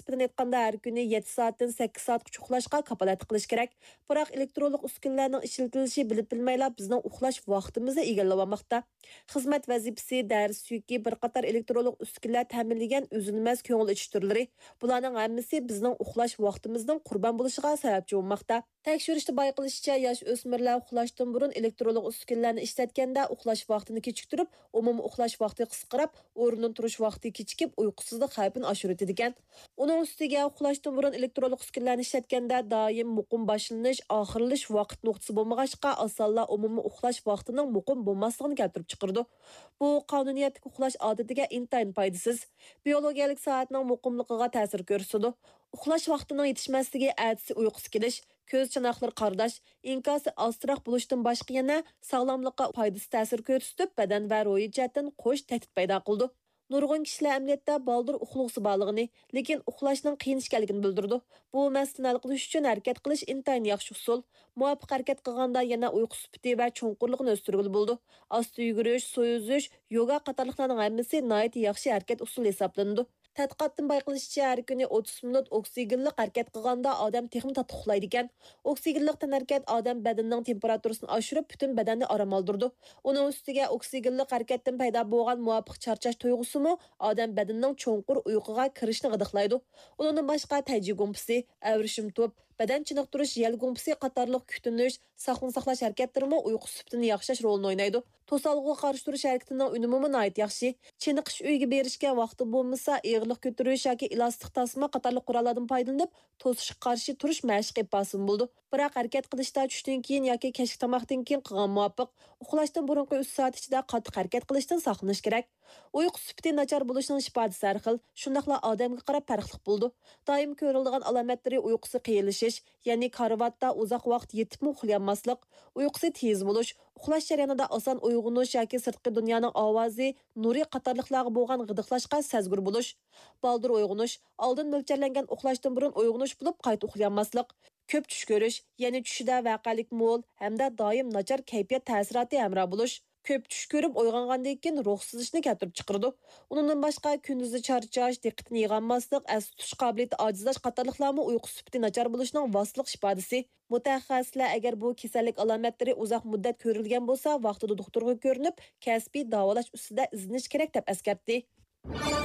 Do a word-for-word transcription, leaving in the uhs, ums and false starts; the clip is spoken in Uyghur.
سىرتىدىن ئېيتقاندا، ھەر كۈنى يەتتە سائەتتىن سەككىز سائەتكىچە ئۇخلاشقا كاپالەتلىك قىلىش كېرەك. بىراق ئېلېكترونلۇق ئۈسكۈنىلەرنىڭ ئىشلىتىلىشى بىلىپ بىلمەيلا بىزنىڭ ئۇخلاش ۋاقتىمىزنى ئىگىلىۋالماقتا. خىزمەت ۋەزىپىسى، دەرس يۈكى، بىر قاتار ئېلېكترونلۇق ئۈسكۈنىلەر تەمىنلىگەن ئۈزۈلمەس كۆڭۈل ئېچىش تۈرلىرى، بۇلارنىڭ ھەممىسى بىزنىڭ ئۇخلاش ۋاقتىمىزنىڭ قۇربان بولۇشىغا سەۋەبچى بولماقتا. تەكشۈرۈشتە بايقىلىشىچە، ياش ئۆسمۈرلەر ئۇخلاشتىن بۇرۇن ئېلېكترونلۇق ئۈسكۈنىلەرنى ئىشلەتكەندە، ئۇخلاش ۋاقتىنى كېچىكتۈرۈپ، ئومۇمىي ئۇخلاش ۋاقتى قىسقىراپ، ئورنىدىن تۇرۇش ۋاقتى كېچىكىپ، ئۇيقۇسىزلىق خەۋپىنى ئاشۇرۇۋېتىدىكەن. ئۇنىڭ ئۈستىگە، ئۇخلاشتىن بۇرۇن ئېلېكترونلۇق ئۈسكۈنىلەرنى ئىشلەتكەندە، دائىم مۇقىم باشلىنىش، ئاخىرلىشىش ۋاقىت نۇقتىسى بولمىغاچقا، ئاسانلا ئومۇمىي ئۇخلاش ۋاقتىنىڭ مۇقىم بولماسلىقىنى كەلتۈرۈپ چىقىرىدۇ. بۇ قانۇنىيەتلىك ئۇخلاش ئادىتىگە ئىنتايىن پايدىسىز. بىيولوگىيەلىك سائەتنىڭ مۇقىملىقىغا تەسىر كۆرسىتىدۇ. ئۇخلاش ۋاقتىنىڭ يېتىشمەسلىكى ئەتىسى ئۇيقۇسى كېلىش، كۆز چاناقلىرى قارىداش، ئىنكاسى ئاستىراق بولۇشتىن باشقا يەنە ساغلاملىققا پايدىسىز تەسىر كۆرسىتىپ، بەدەن ۋە روھىي جەھەتتىن قوش تەھدىت پەيدا قىلىدۇ. نۇرغۇن كىشىلەر ئەمەلىيەتتە بالدۇر ئۇخلىغۇسى بارلىقىنى، لېكىن ئۇخلاشنىڭ قىيىن ئىكەنلىكىنى بىلدۈرىدۇ. بۇ مەسىلىنى ھەل قىلىش ئۈچۈن ھەرىكەت قىلىش ئىنتايىن ياخشى ئۇسۇل. مۇۋاپىق ھەرىكەت قىلغاندا يەنە ئۇيقۇ سۈپىتى ۋە چوڭقۇرلۇقىنى ئۆستۈرگىلى بولىدۇ. ئاستا يۈگۈرۈش، سۇ ئۈزۈش، يوگا قاتارلىقلارنىڭ ھەممىسى ناھايىتى ياخشى ھەرىكەت ئۇسۇلى ھېسابلىنىدۇ. تەتقىقاتتىن بايقىلىشىچە، ھەر كۈنى ئوتتۇز مىنۇت ئوكسىگېنلىق ھەرىكەت قىلغاندا ئادەم تېخىمۇ تاتلىق ئۇخلايدىكەن. ئوكسىگېنلىق تەنھەرىكەت ئادەم بەدىنىنىڭ تېمپېراتۇرىسىنى ئاشۇرۇپ، پۈتۈن بەدەننى ئارام ئالدۇرىدۇ. ئۇنىڭ ئۈستىگە ئوكسىگېنلىق ھەرىكەتتىن پەيدا بولغان مۇۋاپىق چارچاش تۇيغۇسىمۇ ئادەم بەدىنىنىڭ چوڭقۇر ئۇيقۇغا كىرىشىنى غىدىقلايدۇ. ئۇنىڭدىن باشقا، تەيجى گۇڭپىسى، ئەۋرىشىم توپ، بەدەن چېنىقتۇرۇش يەل گۇڭپىسى قاتارلىق كۈتۈنۈش، ساقلىقنى ساقلاش ھەرىكەتلىرىمۇ ئۇيقۇ سۈپىتىنى ياخشىلاش رولىنى ئوينايدۇ. توسالغۇغا قارشى تۇرۇش ھەرىكىتىنىڭ ئۈنۈمىمۇ ناھايىتى ياخشى. چېنىقىش ئۆيىگە بېرىشكە ۋاقتى بولمىسا، ئېغىرلىق كۆتۈرۈش ياكى ئېلاستىك تاسما قاتارلىق قوراللاردىن پايدىلىنىپ، توسۇشقا قارشى تۇرۇش مەشىقى ئېلىپ بارسىمۇ بولىدۇ. بىراق ھەرىكەت قىلىشتا چۈشتىن كېيىن ياكى كەچلىك تاماقتىن كېيىن قىلغان مۇۋاپىق. ئۇخلاشتىن بۇرۇنقى ئۈچ سائەت ئىچىدە قاتتىق ھەرىكەت قىلىشتىن ساقلىنىش كېرەك. ئۇيقۇ سۈپىتى ناچار بولۇشنىڭ ئىپادىسى ھەر خىل، شۇنداقلا ئادەمگە قاراپ پەرقلىق بولىدۇ. دائىم كۆرۈلىدىغان ئالامەتلىرى ئۇيقۇسى قىيىنلىشىش، يەنى كارىۋاتتا ئۇزاق ۋاقىت يېتىپمۇ ئۇخلىيالماسلىق، ئۇيقۇسى تېز بولۇش، ئۇخلاش جەريانىدا ئاسان ئويغىنىش ياكى سىرتقى دۇنيانىڭ ئاۋازى، نۇرى قاتارلىقلارغا بولغان غىدىقلاشقا سەزگۈر بولۇش، بالدۇر ئويغىنىش، ئالدىن مۆلچەرلەنگەن ئۇخلاشتىن بۇرۇن ئويغىنىش بولۇپ قايتا ئۇخلىيالماسلىق، كۆپ چۈش كۆرۈش، يەنى چۈشىدە ۋەقەلىك مول ھەمدە دائىم ناچار كەيپىيات تەسىراتى ھەمراھ بولۇش، كۆپ چۈش كۆرۈپ ئويغانغاندىن كېيىن روھسىزلىشىشنى كەلتۈرۈپ چىقىرىدۇ. ئۇنىڭدىن باشقا، كۈندۈزى چارچاش، دىققىتىنى يىغالماسلىق، ئەستە تۇتۇش قابىلىيىتى ئاجىزلاش قاتارلىقلارمۇ ئۇيقۇ سۈپىتى ناچار بولۇشنىڭ ۋاسىتىلىق ئىپادىسى. مۇتەخەسسىسلەر ئەگەر بۇ كېسەللىك ئالامەتلىرى ئۇزاق مۇددەت كۆرۈلگەن بولسا، ۋاقتىدا دوختۇرغا كۆرۈنۈپ، كەسپىي داۋالاش ئۈستىدە ئىزدىنىش كېرەك، دەپ ئەسكەرتتى.